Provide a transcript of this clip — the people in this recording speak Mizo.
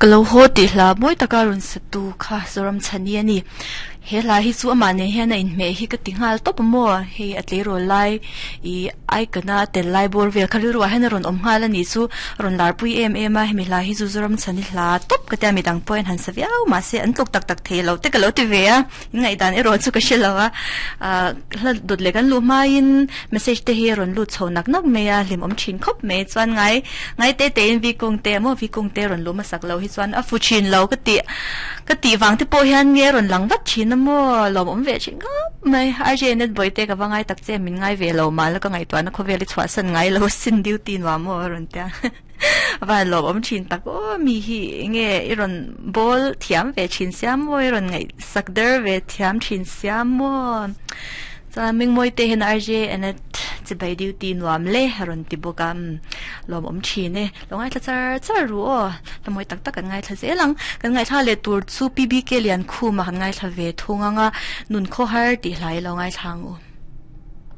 Ka lo haw tih hla mawi taka rawn sa tu kha Zoramchhani a ni. He hla hi chu amah nen hian a inhmeh hi ka ti nghal tawp a maw? Hei a tleirawl lai ih icon a tel lai bawr vel kha rilruah hian a rawn awm nghal a nih chu a rawn larpui em em a, hemi hla hi chu Zoramchhani hla tawp ka tia midang pawhin han sa viau mahse an tluk tak tak thei lo te ka lo ti ve a. Ngaihdan erawh chu ka hre lo a, hla dawt leh kan luh hmain message te hi a rawn lut chho nak nak mai a, hlimawm thin khawp mai chuan ngai ngai te tein vikung te maw vikung te rawn luh hmasak lo hi chuan a fu thin lo ka tih ka tih vang te pawh hian nge rawn lang vat thin a maw lawmawm ve thin khawp mai RJ net vawi te ka va ngai tak che min ngai ve lo mah la ka ngaihtuahna khawvel i chhuahsan ngai lo sin duty nuam maw a rawn tia. Van lawm awm thin tak aw mi hi enge i rawn bawl thiam ve thin sia maw i rawn ngaihsak der ve thiam thin sia maw chuan Mingmawi te hian RJ Anet chibai duty nuam le a rawn ti bawk a lawm awm thin e lo ngaithla char char ru aw hla mawi tak tak kan ngaithla zel ang kan ngaithla leh tur chu PBK Liankhuma kan ngaithla ve thung ang a nun khawhar tih hlai lo ngaithla ang u.